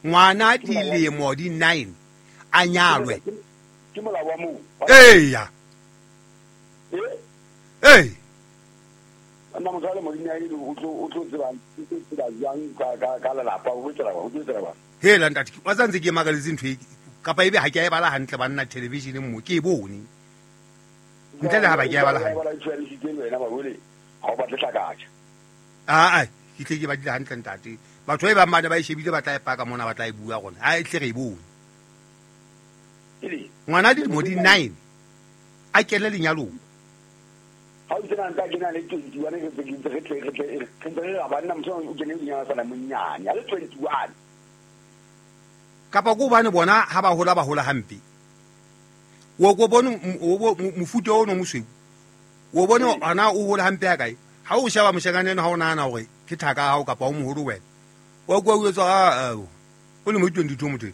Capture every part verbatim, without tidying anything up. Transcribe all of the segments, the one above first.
Ngwana dilemo di nine a nyalwe. Ke molao wa moo. Eya. Eh? Ee. Nna motho a le mo di nine o tlo o tlo tseba o tlo tseba jwang ka ka ka lelapa o tsela o tlo tsela. Hela ntate, wa tsantse ke makaletse ntho e kapa ebe ha ke a e bala hantle banna television mo ke e bone. Ntle le ha ba ke a e bala hantle. Ba tshwarisitse le wena ba bole ha o batle hlakatsa. Ah ah, ke tle ke badile hantle ntate. Batho ba bang ba ne ba e shebile ba tla e paka mona ba tla e bua gona. Ha e tle re e bone. Ele Ngwana dilemo di nine a kene lenyalong. Ha o tsena nka kena le twenty-one re ntse re tle re tle re ntse re ba nna motho o kene lenyalo sa la monyane a le twenty-one. Kapa ko bane bona ha ba hola ba hola hampe. O ko bone o mofuta ono mosweu. O bone ana o hola hampe ya kae? Ha o sheba moshekane eno ha o nahana hore ke thaka hao kapa o moholo wena. Wa kwa o etsa a o le mo twenty-two motho.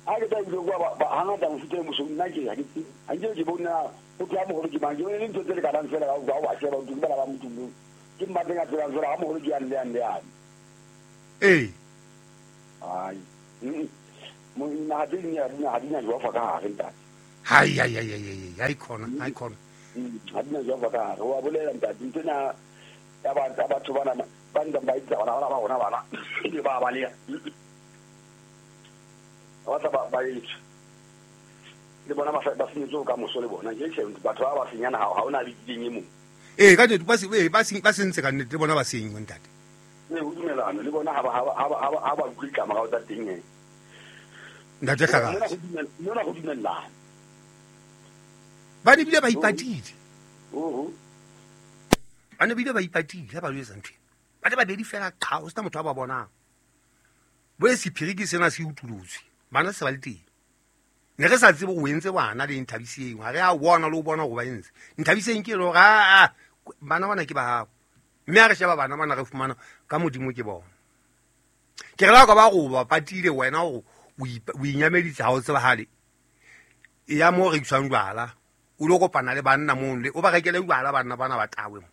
Ha ke tla bua ba ba hangata mofuta e mosweu nna ke ha ke ha ke ke bona o tla moholo ke mang ke bone ntho tse le ka fela ka ba wa sheba o dumela ba motho ke mmatleng a tsebang fela ha moholo ke yang le yang le yang. Ee. Ai. Mo na di nya di ha di nya jwa fa ka hare ntate. Hai hai hai hai hai khona hai khona. Ha di nya jwa fa ka hare wa bolela ntate ntse na ya ba batho bana ba ntse ba itsa bana ba bona bana ke ba ba le. Ba tla ba ba itse. Le bona ba ba senyetse ka moso le bona ke tjhe batho ba ba senyana ha ha ona le ding e mong. Eh ka nnete ba se ba se ba sentse ka nnete le bona ba senywe ntate. Ne ho dumelana le bona ha ba ha ba ha ba utlwe ditlamorao tsa teng e. Ntate Hlakatse. Mona go dumellana. Ba ne bile ba ipatile. Oho. Ba ne bile ba ipatile ha ba lo etsa ntho. Ba ne babedi fela qha ho sena motho a ba bonang. Bo e sephiri ke sena se utulotswe. Bana se ba le teng. Ne re sa tsebe o entse bana le Nthabiseng. Ha re a bona le o bona go ba entse. Nthabiseng ke lo ga a bana bana ke ba hao. Mme ha re sheba bana bana re fumana ka modimo ke bona. Ke re la ka ba go ba patile wena o o inyameditse ha o tsebahale. E ya mo re iswang jwala. O lo kopana le banna mo le o ba rekele jwala banna bana ba tawe mo.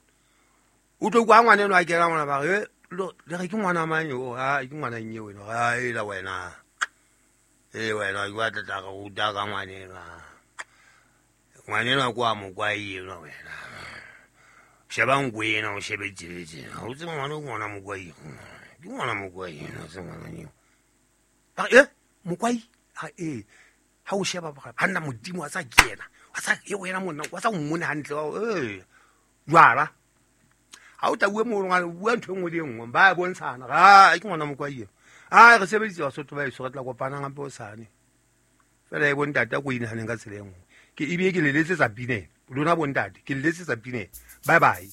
O tlo kwa ngwana eno a kena ngwana ba re le re ke ngwana mang yo ha ke ngwana nnye wena ha ela wena. E wena o batla tla go ruta ka ngwana eno. Ngwana eno kwa mo kwa eno wena. Sheba ngwena o shebe tjetse. Ha o tsebe ngwana o ngwana mokwai. Ke ngwana mokwai eno se ngwana eo. Ba eh mokwai ha eh ha o sheba ba hanna modimo wa sa kena. Wa sa e wena monna wa sa mmone hantle eh jwala. Ha o tla bua mo ngwana bua ntho engwe le engwe ba bontshana ha ke ngwana mokwai eno. Ah re sebeditse Basotho ba eso re tla kopana gape o sane. Fela e bontate ko inahaneng ka tsela e nngwe. Ke ebile ke le letsetsa pineng. Lona bontate ke le letsetsa pineng. Bye bye.